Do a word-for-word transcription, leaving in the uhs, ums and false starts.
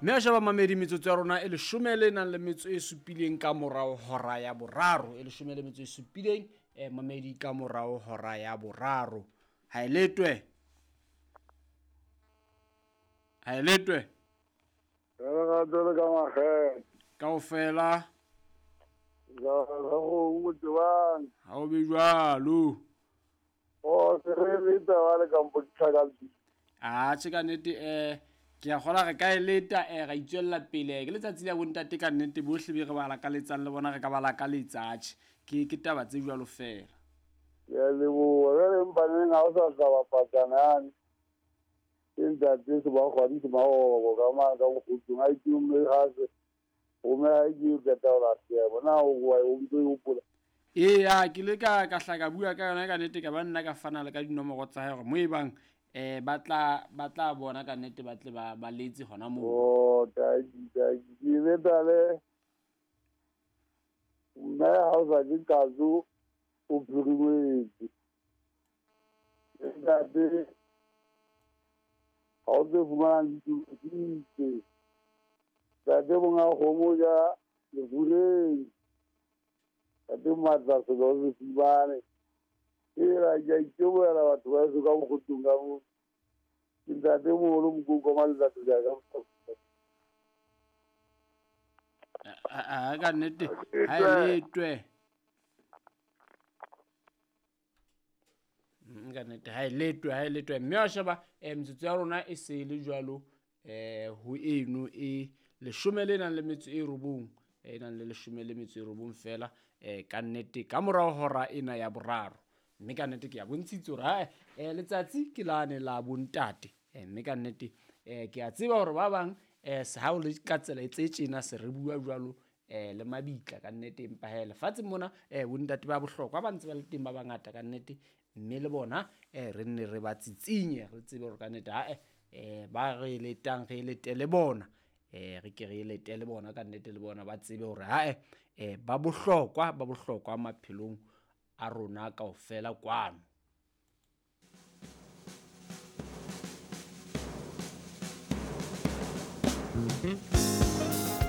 Mme a sheba mamedi metsotso ya rona e leshome le nang le metso e supileng ka morao hora ya boraro. E leshome le metso e supileng eh mamedi ka morao hora ya boraro. Ha e letwe. Ha e letwe. Re ga tsole ka magela. Kaofela. Ga go motebang. Ha o be jwalo. O se re leta ba le ka mpotsa ka. Ah, tjhe ka nnete eh ke a kgola re ka e leta eh ra itswella pele ke letsatsi la bontate ka nnete bohle be re ba lakaletsang le bona re ka ba lakaletsa tjhe ke ke taba tse jwalo fela. Ke a leboha jwale empa neng ha o sa tla bapatsana yane ke ntate se ba kgwadi se maobo ka mane ka mokgutlong a itumme hase gomme ha ke qeta ho lahleha bona o wa o ntso e hopola. Eya ke le ka ka hla ka bua ka yona ka nnete ka ba nna ka fana le ka dinomoro tsa hae hore mo e bang eh ba tla ba tla bona ka nnete ba tle ba ba letse hona moo. Oh tadi tadi ke leta le mme ha o sa ke kazo o phirimetse ntate ha o tse fumanang ditse ntate monga kgomo ja lefureng ntate matla selo se fibane era ke a itebohela batho ba heso ka mokgotlong ka moo ke ntate moholo Mokoko wa Maletsatsi ja ka. A ka nnete ha e letwe. Ka nnete ha e letwe ha e letwe mme wa sheba eh metsotso ya rona e se le jwalo eh ho eno e leshome le nang le metso e robong e nang le leshome le metso e robong fela eh ka nnete ka morao hora ena ya boraro. Mme ka nnete ke a bontshitse hore ha eh letsatsi ke lane la bontate eh mme ka nnete eh ke a tseba hore ba bang eh ha o le ka tsela e tse tjena se re bua jwalo eh le mabitla ka nnete empa he lefatsheng mona eh bontate ba bohlokwa ba ntse ba le teng ba bangata ka nnete mme le bona eh re nne re ba tsitsinye re tsebe hore ka nnete ha eh ba re letang re letele bona eh re ke re letele bona ka nnete le bona ba tsebe hore ha eh ba bohlokwa ba bohlokwa maphelong a rona kaofela kwano. Mm-hmm.